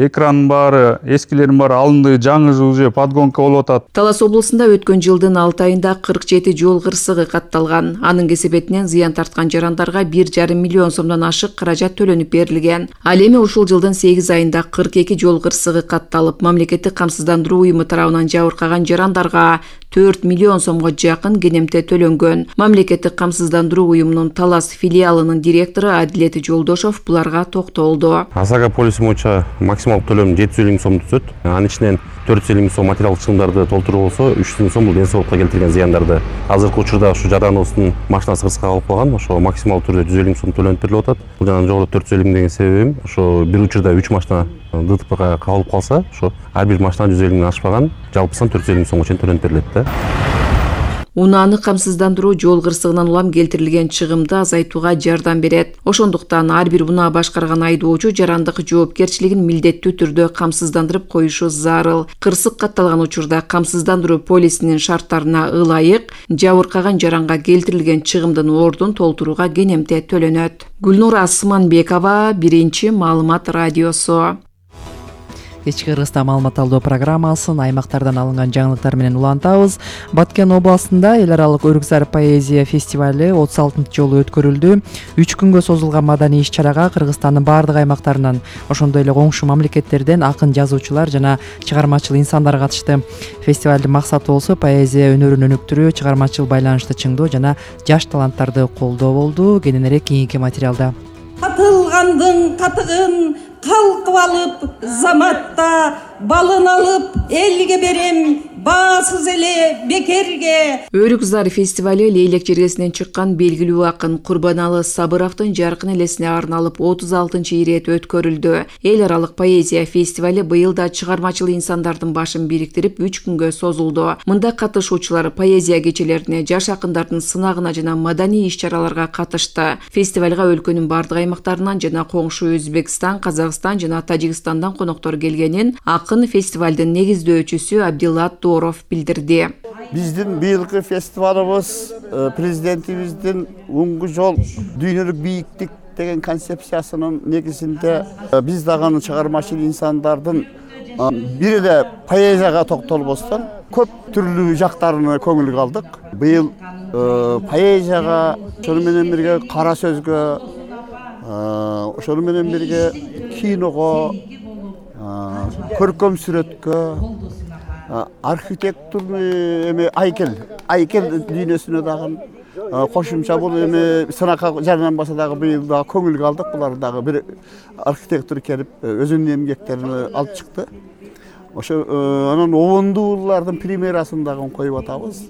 экрандын баары, эскилердин баары алынды, жаңы уже подгонка болуп атат. Талас облусунда өткөн жылдын 6 айында 47 жол кырсыгы катталган. Анын кесепетинен зыян тарткан жарандарга 1,5 миллион сомдон ашык каражат төлөнүп берилген. Ал эми ушул жылдын 8 айында 42 жол кырсыгы катталып, мамлекеттик камсыздандыруу уюму тарабынан жабыркаган жарандарга 4 миллион сомго жакын кенемте төлөнгөн. Мамлекеттик камсыздандыруу уюмунун Талас филиалынын директору Адилет Жолдошов буларга токтолду. АСАГА полиси боюнча максималдык төлөм 750 миң сом түзөт. Анын ичинен 450 миң сом материалдык чыгымдарды толтуруу болсо, 300 миң сом бул ден соолукка келтирген зыяндарды. Азыркы учурда ушу жараныбыздын машинасы кырсыкка калып калган. Ошо максималдуу түрдө 150 миң сом төлөнүп берилип атат. Бул жана жогоруда 450 миң деген себебим ошо бир учурда 3 машина ДТПга кабылып калса, ошо ар бир машина 150 миң ашпаган, жалпысынан 450 миң сомго чейин төлөнүп берилет да. Унааны камсыздандыруу жол кырсыгынан улам келтирилген чыгымды азайтууга жардам берет. Ошондуктан ар бир унаа башкарган айдоочу жарандык жоопкерчилигин милдеттүү түрдө камсыздандырып коюшу зарыл. Кырсык катталган учурда камсыздандыруу полисинин шарттарына ылайык жабыркаган жаранга келтирилген чыгымдын ордун толтурууга кенемте төлөнөт. Гүлнур Асманбекова, Биринчи маалымат радиосу. Кечки Кыргызстан маалымат алуу программасын аймактардан алынган жаңылыктар менен улантабыз. Баткен областында эл аралык Өрүкзар поэзия фестивали 36-жолу өткөрүлдү. 3 күнгө созулган маданий иш-чарага Кыргызстандын бардык аймактарынан, ошондой эле коңшу мамлекеттерден акын жазуучулар жана чыгармачыл инсандар катышты. Фестивалдын максаты болсо поэзия өнөрүн өнүктүрүү, чыгармачыл байланышты чыңдоо жана жаш таланттарды колдоо болду. Кененирээк кийинки материалда. Катылгандын катыгын калкып алып, заматта балын алып, элге берем, баасыз эле бекерге. Өрүкзар фестивали Лейлек жергесинен чыккан белгилүү акын Курбаналы Сабыровдун жаркын элесине арналып 36-ирет өткөрүлдү. Эл аралык поэзия фестивали быйыл да чыгармачыл инсандардын башын бириктирип 3 күнгө созулду. Мында катышуучулар поэзия кечелерине, жаш акындардын сынагына жана маданий иш-чараларга катышты. Фестивалга өлкөнүн бардык аймактарынан жана коңшу Өзбекстан, Казакстан жана Тажикстандан коноктор келгенин акын фестивалдын негиздөөчүсү Абдилла Торов билдирди. Биздин быйылкы фестивалыбыз президентибиздин оңгу жол дүйнөлүк бийиктикте деген концепциясынын негизинде биз дагы чыгармачыл инсандардын бир эле поэзияга токтолбостон көп түрлүү жактарына көңүл калдык. Быйыл поэзияга, ошону менен бирге кара сөзгө, ошону менен бирге киного, көркөм сүрөткө, архитектурный айкел дүйнөсүнө дагы кошумча бул сынакка жарыянбаса дагы быйыл дагы көңүл калдык. Булар дагы бир архитектор келип өзүнүн эмгектерин алып чыкты. Ошо анан обондуулардын премьерасын дагы коюп атабыз.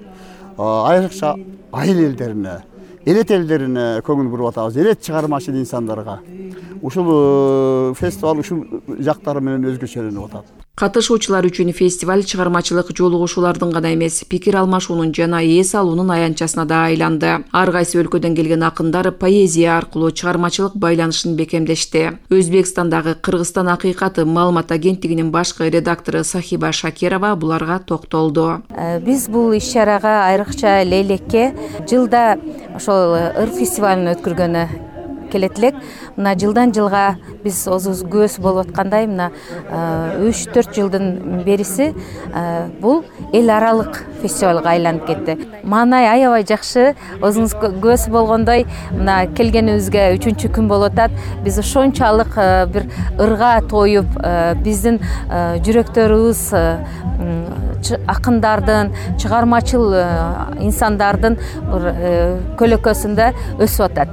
Айрыкча айыл элдерине, элет элдерине көңүл буруп атабыз, элет чыгармачыл инсандарга. Ушул фестиваль ушул жактары менен өзгөчөлөнүп атат. Катышуучулар үчүн фестиваль чыгармачылык жолугушуулардын гана эмес, пикир алмашуунун жана эс алуунун аянтчасына да айланды. Ар кайсы өлкөдөн келген акындар поэзия аркылуу чыгармачылык байланышын бекемдешти. Өзбекстандагы Кыргызстан акыйкаты маалымат агенттигинин башкы редактору Сахиба Шакирова буларга токтолду. Биз бул иш-чарага айрыкча Лейлекке жылда ошол ыр фестивалын өткөргөнү келет элек. Мына жылдан жылга биз өзүбүз көз болуп аткандай мына 3-4 жылдын бериси бул эл аралык фестивалга айланып кетти. Маанай аябай жакшы. Өзүңүз көз болгондой мына келгенибизге 3-күн болуп атат. Биз ошончалык бир ырга тоюп, биздин жүрөктөрүбүз акындардын, чыгармачыл инсандардын көлөкөсүндө өсүп атат.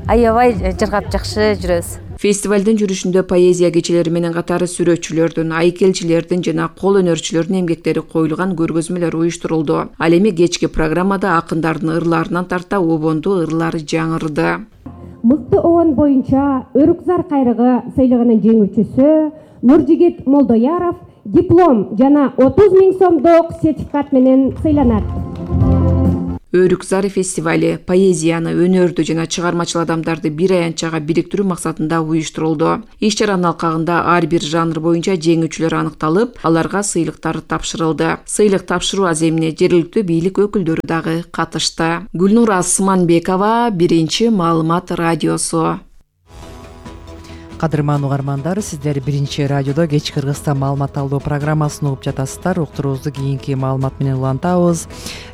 Аябай жыргап жакшы жүрөбүз. Фестивалдын жүрүшүндө поэзия кечелери менен катары сүрөтчүлөрдүн, айкелчилердин жана кол өнөрчүлөрдүн эмгектери коюлган көргөзмөлөр уюштурулду. Ал эми кечки программада акындардын ырларынан тарта обонду ырлар жаңырды. Мыкты обон боюнча Өрүкзар кайрыгы сыйлыгынын жеңүүчүсү Нуржигит Молдояров диплом жана 30 000 сомдук сертификат менен сыйланат. Өрүкзар фестивали поэзияны, өнөрдү жана чыгармачыл адамдарды бир аянтчага бириктирүү максатында уюштурулду. Иш-чаранын алкагында ар бир жанр боюнча жеңүүчүлөр аныкталып, аларга сыйлыктар тапшырылды. Сыйлык тапшыруу аземине жергиликтүү бийлик өкүлдөрү дагы катышты. Гүлнур Асманбекова, Биринчи маалымат радиосу. Кадырман угармандар, сиздер Биринчи радиодо кеч Кыргызстан маалымат алуу программасын угуп жатасыздар. Уктуруубузду кийинки маалымат менен улантабыз.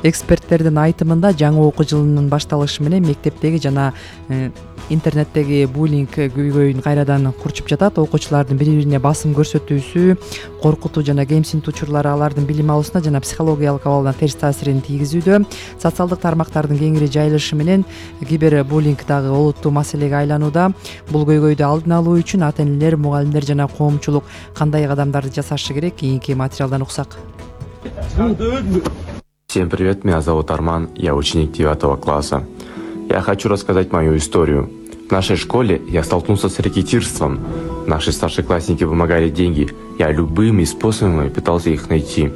Эксперттердин айтымында жаңы окуу жылынын башталышы менен мектептеги жана интернеттеги буллинг көйгөйүн кайрадан курчуп жатат. Окуучулардын бири-бирине басым көрсөтүүсү, коркутуу жана кемсинтүү учурлары алардын билим алуусуна жана психологиялык абалына терс таасирин тийгизүүдө. Социалдык тармактардын кеңири жайылышы менен кибербуллинг дагы олуттуу маселеге айланууда. Бул көйгөйдү алдын алуу үчүн ата-энелер, мугалимдер жана коомчулук кандай кадамдарды жасашы керек? Кийинки материалдан уксак. Всем привет, меня зовут Арман, я ученик 9 класса. Я хочу рассказать мою историю. В нашей школе я столкнулся с рекетирством. Наши старшеклассники вымогали деньги. Я любыми способами пытался их найти.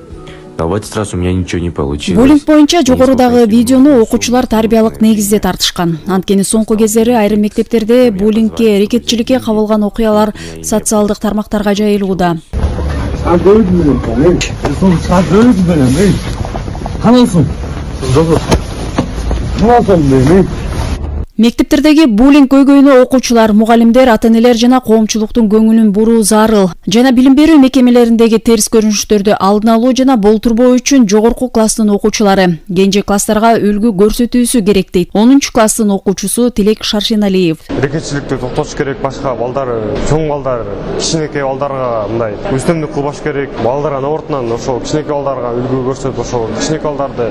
Но в этот раз у меня ничего не получилось. Буллинг боюнча жогорудагы видеону окуучулар тарбиялык негизде тартышкан. Анткени соңку кездери айрым мектептерде буллингке, рекетчиликке кабылган окуялар социалдык тармактарга жайылууда. Мектептердеги буллинг көйгөйүнө окуучулар, мугалимдер, ата-энелер жана коомчулуктун көңүлүн буруу зарыл. Жана билим берүү мекемелериндеги терс көрүнүштөрдү алдын алуу жана болтурбоо үчүн жогорку класстын окуучулары кенже класстарга үлгү көрсөтүүсү керек дейт 10 класстын окуучусу Тилек Шаршеналиев. Рекетчиликти токтотуш керек, башка балдар, чоң балдар, кичинекей балдарга мындай үстөмдүк кылбаш керек. Балдар ортунан ошол кичинекей балдарга үлгү көрсөтүп, ошол кичинекей балдарды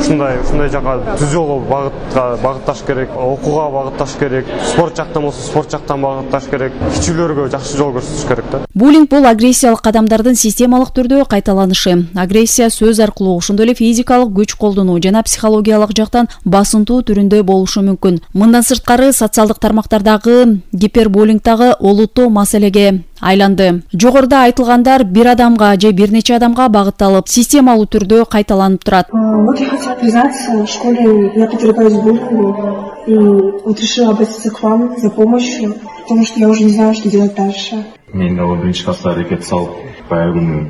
ушундай жака түз жолго багытташ керек. Окууга багытташ керек, спорт жактан болсо спорт жактан багытташ керек, кичүүлөргө жакшы жол көрсөтүш керек да. Буллинг бул агрессиялык кадамдардын системалык түрдө кайталанышы. Агрессия сөз аркылуу, ошондой эле физикалык күч колдонуу жана психологиялык жактан басынтуу түрүндө болушу мүмкүн. Мындан сырткары социалдык тармактардагы гипербуллинг дагы олуттуу маселеге айланды. Жогоруда айтылгандар бир адамга же бир нече адамга багытталып, системалуу түрдө кайталанып турат. Вот я хотела признаться, в школе я подвергалась буллингу и вот решила обратиться к вам за помощью, потому что я уже не знаю, что делать дальше. Мен дагы биринчи класста рекет салып, баягы күнү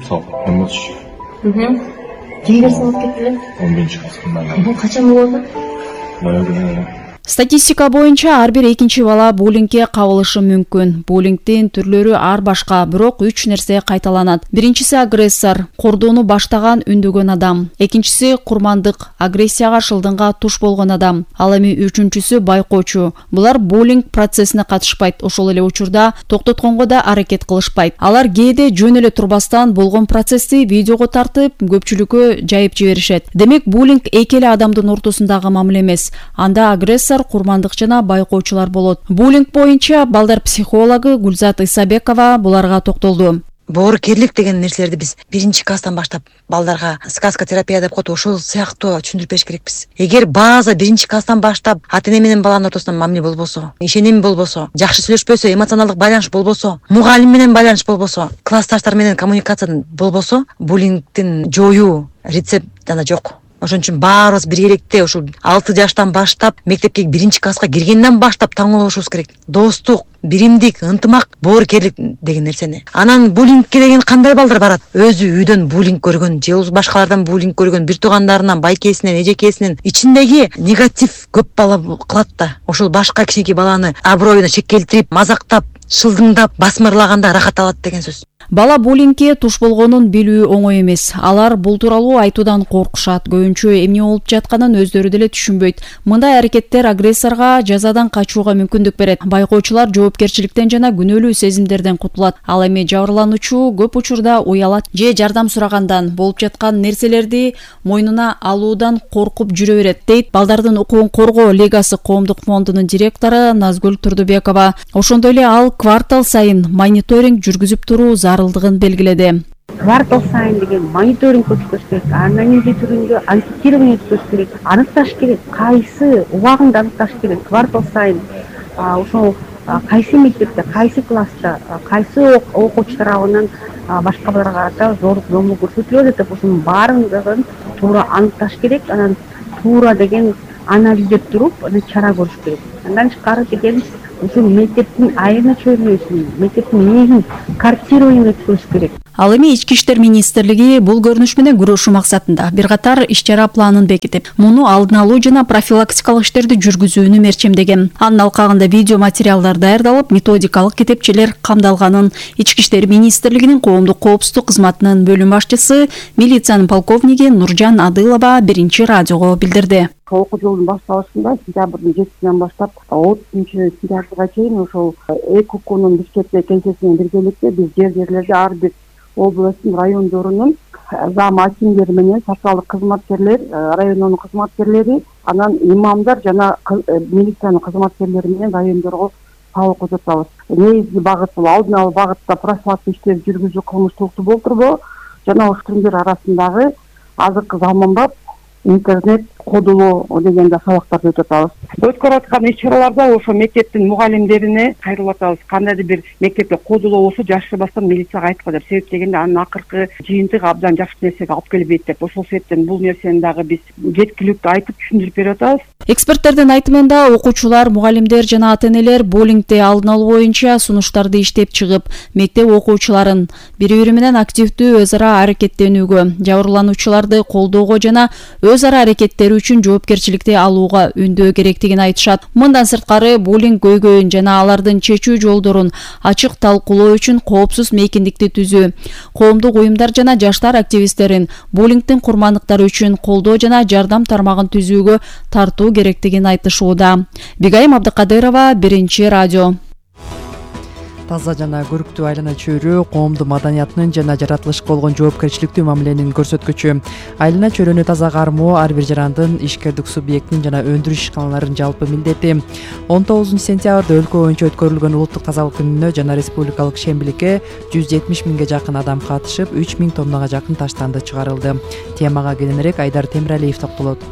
салып эмочу. Кимдер салып кетти эле? 11 класста. Качан болду? Баягы Статистика боюнча ар бир экинчи бала буллингге кабылышы мүмкүн. Буллингдин түрлөрү ар башка, бирок 3 нерсе кайталанат. Биринчиси агрессор, кордоону баштаган үндөгөн адам. Экинчиси курмандык, агрессияга шылдыңга туш болгон адам. Ал эми үчүнчүсү байкоочу. Булар буллинг процессине катышпайт, ошол эле учурда токтотконго да аракет кылышпайт. Алар кээде жөн эле турбастан болгон процессти видеого тартып, көпчүлүккө жайып жиберишет. Демек, буллинг эки эле адамдын ортосундагы мамиле эмес. Анда агрессор, курмандык жана байкоочулар болот. Буллинг боюнча балдар психологу Гүлзат Исабекова буларга токтолду. Боорукерлик деген нерселерди биз биринчи класстан баштап балдарга сказка терапия деп коет, ошол сыяктуу түшүндүрүп бериш керекпиз. Эгер база биринчи класстан баштап ата-эне менен баланын ортосунда мамиле болбосо, ишеним болбосо, жакшы сүйлөшпөсө, эмоционалдык байланыш болбосо, мугалим менен байланыш болбосо, классташтар менен коммуникация болбосо, буллингдин жоюу рецепт анда жок. Ошон үчүн баарыбыз биргеликте ушул 6 жаштан баштап мектепке биринчи класска киргенден баштап таңуулашыбыз керек. Достук, биримдик, ынтымак, боорукерлик деген нерсени. Анан буллингке деген кандай балдар барат? Өзү үйдөн буллинг көргөн, же башкалардан буллинг көргөн, бир туугандарынан, байкесинен, эжекесинен ичиндеги негатив көп бала кылат да. Ошол башка кичинекей баланы аброюна шек келтирип, мазактап, шылдыңдап, басмырлаганда рахат алат деген сөз. Бала буллингге туш болгонун билүү оңой эмес. Алар бул тууралуу айтуудан коркушат. Көбүнчө эмне болуп жатканын өздөрү деле түшүнбөйт. Мындай аракеттер агрессорго жазадан качууга мүмкүндүк берет. Байкоочулар жоопкерчиликтен жана күнөөлүү сезимдерден кутулат. Ал эми жабырлануучу көп учурда уялат же жардам сурагандан, болуп жаткан нерселерди мойнуна алуудан коркуп жүрө берет, дейт Балдардын укугун коргоо лигасы коомдук фондунун директору Назгүл Турдубекова. Ошондой эле ал квартал сайын мониторинг жүргүзүп туруу зарылдыгын белгиледи. Квартал сайын деген мониторинг өткөзүш керек, анализ түрүндө анкетирование өткөзүш керек, аныкташ керек, кайсы убагында аныкташ керек. Квартал сайын ошол кайсы мектепте, кайсы класста, кайсы окуучу тарабынан башка балдарга карата зорлук зомбулук көрсөтүлөт деп ошонун баардыгын туура аныкташ керек. Анан туура деген анализдеп туруп, чара көрүш керек. Андан тышкары деген ушул мектептин айрына чөйрөсүн, мектептин негизин корректирование өткөрүш керек. Ал эми Ички иштер министрлиги бул көрүнүш менен күрөшүү максатында бир катар иш-чара планын бекитип, муну алдын алуу жана профилактикалык иштерди жүргүзүүнү мерчемдеген. Анын алкагында видео материалдар даярдалып, методикалык китепчелер камдалганын Ички иштер министрлигинин коомдук коопсуздук кызматынын бөлүм башчысы, милициянын полковниги Нуржан Адылова биринчи радиого билдирди. Окуу жылдын башталышында сентябрдын 7-синен баштап 30-сентябрга чейин ошол ЭКУКнун Бишкекте кеңсесинен биргеликте биз жерлерде ар бир областтын райондорунун зам акимдери менен социалдык кызматкерлер, райондун кызматкерлери, анан имамдар жана милициянын кызматкерлери менен райондорго сабак өтөтөбүз. Негизги багыт бул алдын алуу багытта профилактика иштерин жүргүзүү, кылмыштуулукту болтурбоо жана ошондор арасындагы азыркы заманбап интернет кодулоо дегенде сабактарды өтүп атабыз. Өткөрүп аткан иш-чараларда ошо мектептин мугалимдерине кайрылып атабыз. Кандайдыр бир мектепте кодулоо болсо жашырбастан милицияга айткыла деп. Себеп дегенде анын акыркы жыйынтыгы абдан жакшы нерсеге алып келбейт деп. Ошол себептен бул нерсени дагы биз жеткиликтүү айтып түшүндүрүп берип атабыз. Эксперттердин айтымында окуучулар, мугалимдер жана ата-энелер буллингди алдын алуу боюнча сунуштарды иштеп чыгып, мектеп окуучуларын бири-бири менен активдүү өз ара аракеттенүүгө, жабырлануучуларды колдоого жана өз ара аракеттери үчүн жоопкерчиликти алууга үндөө керектигин айтышат. Мындан сырткары буллинг көйгөйүн жана алардын чечүү жолдорун ачык талкуулоо үчүн коопсуз мейкиндикти түзүү, коомдук уюмдар жана жаштар активисттерин буллингдин курмандыктары үчүн колдоо жана жардам тармагын түзүүгө тартуу керектигин айтышууда. Бигайым Абдыкадырова, биринчи радио. Таза жана көрүктүү айлана чөйрө коомдун маданиятынын жана жаратылышка болгон жоопкерчиликтүү мамиленин көрсөткүчү. Айлана чөйрөнү таза кармоо ар бир жарандын, ишкердик субъекттин жана өндүрүш ишканаларынын жалпы милдети. 19-сентябрда өлкө боюнча өткөрүлгөн улуттук тазалык күнүнө жана республикалык шембиликке 170 миңге жакын адам катышып, 3 миң тоннага жакын таштанды чыгарылды. Темага кененирээк Айдар Темиралиев токтолот.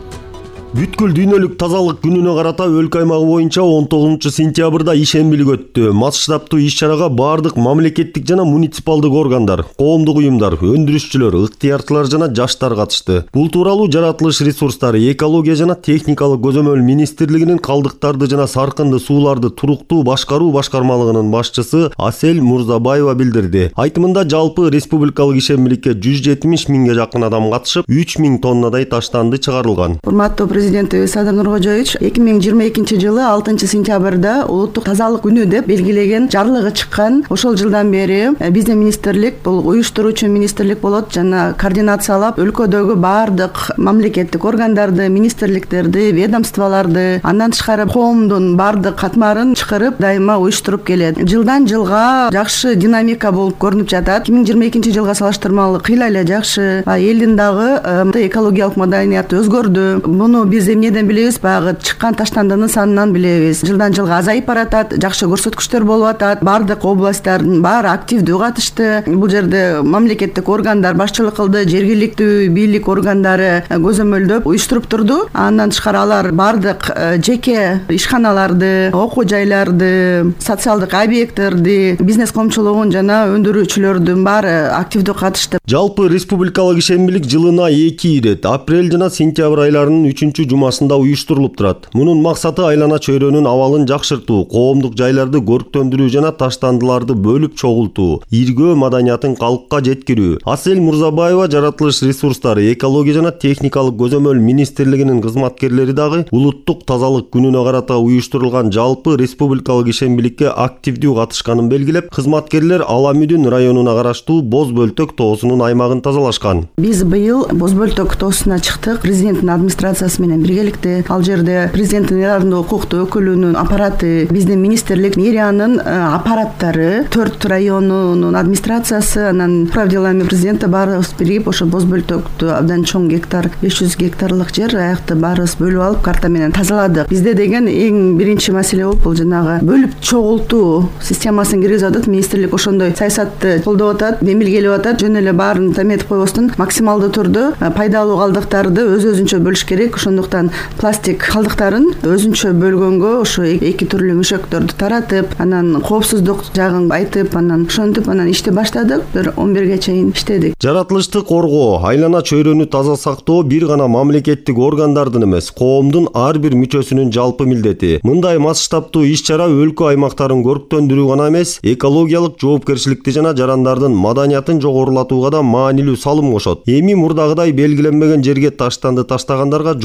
Бүткүл дүйнөлүк тазалык күнүнө карата өлкө аймагы боюнча 19-сентябрда ишембилик өттү. Масштабтуу иш-чарага бардык мамлекеттик жана муниципалдык органдар, коомдук уюмдар, өндүрүшчүлөр, ыктыярчылар жана жаштар катышты. Бул тууралуу жаратылыш ресурстары, экология жана техникалык көзөмөл министрлигинин калдыктарды жана саркынды сууларды туруктуу башкаруу башкармалыгынын башчысы Асель Мурзабаева билдирди. Айтымында жалпы республикалык ишембиликке 170 миңге жакын адам катышып, 3 миң тоннадай таштанды чыгарылган. Урматтуу президентибиз Садыр Нуркожоевич 2022 жылы 6 сентябрда улуттук тазалык күнү деп белгилеген жарлыгы чыккан. Ошол жылдан бери биздин министрлик бул уюштуруучу министрлик болот жана координациялап өлкөдөгү баардык мамлекеттик органдарды, министрликтерди, ведомстволорду, андан тышкары коомдун баардык катмарын чакырып дайыма уюштуруп келет. Жылдан жылга жакшы динамика болуп көрүнүп жатат. 2022 жылга салыштырмалуу кыйла эле жакшы. Элдин дагы экологиялык маданияты өзгөрдү. Муну биз эмнеден билебиз? Баягы чыккан таштандынын санынан билебиз. Жылдан жылга азайып баратат, жакшы көрсөткүчтөр болуп атат. Баардык областтардын баары активдүү катышты. Бул жерде мамлекеттик органдар башчылык кылды, жергиликтүү бийлик органдары көзөмөлдөп уюштуруп турду. Андан тышкары алар баардык жеке ишканаларды, окуу жайларды, социалдык объекттерди, бизнес коомчулугун жана өндүрүүчүлөрдүн баары активдүү катышты. Жалпы республикалык ишембилик жылына 2 ирет апрель жана сентябрь айларынын 3-жумасында уюштурулуп турат. Мунун максаты айлана чөйрөнүн абалын жакшыртуу, коомдук жайларды көрктөндүрүү жана таштандыларды бөлүп чогултуу, иргөө маданиятын калкка жеткирүү. Асель Мурзабаева жаратылыш ресурстары, экология жана техникалык көзөмөл министрлигинин кызматкерлери дагы улуттук тазалык күнүнө карата уюштурулган жалпы республикалык ишембиликке активдүү катышканын белгилеп, кызматкерлер Ала Мүдүн районуна караштуу Боз Бөлтөк тоосунун аймагын тазалашкан. Биз быйыл Боз Бөлтөк тоосуна чыктык. Президенттин администрациясы менен биргеликте. Ал жерде президенттин ыраадындуу укуктуу өкүлүнүн аппараты, биздин министрлик, мэриянын аппараттары, 4 районунун администрациясы, анан управ делами президента баарыбыз биригип ошо Боз Бөлтөктү абдан чоң гектар, 500 гектарлык жер аякты баарыбыз бөлүп алып карта менен тазаладык. Бизде деген эң биринчи маселе болуп бул жанагы бөлүп чогултуу системасын киргизип атат. Министрлик ошондой саясатты колдоп атат, мемилгелеп атат. Жөн эле баарын таметип койбостон максималдуу түрдө пайдалуу калдыктарды өзүнчө бөлүш керек. Ошондуктан пластик калдыктарын өзүнчө бөлгөнгө ошо 2 түрлүү мөшөктөрдү таратып, анан коопсуздук жагын айтып, анан ошентип анан ишти баштадык. Бир 11ге чейин иштедик. Жаратылышты коргоо, айлана чөйрөнү таза сактоо бир гана мамлекеттик органдардын эмес, коомдун ар бир мүчөсүнүн жалпы милдети. Мындай масштабтуу иш-чара өлкө аймактарын көрктөндүрүү гана эмес, экологиялык жоопкерчиликти жана жарандардын маданиятын жогорулатууга да маанилүү салым кошот. Эми мурдагыдай белгиленбеген жерге таштанды таштагандарга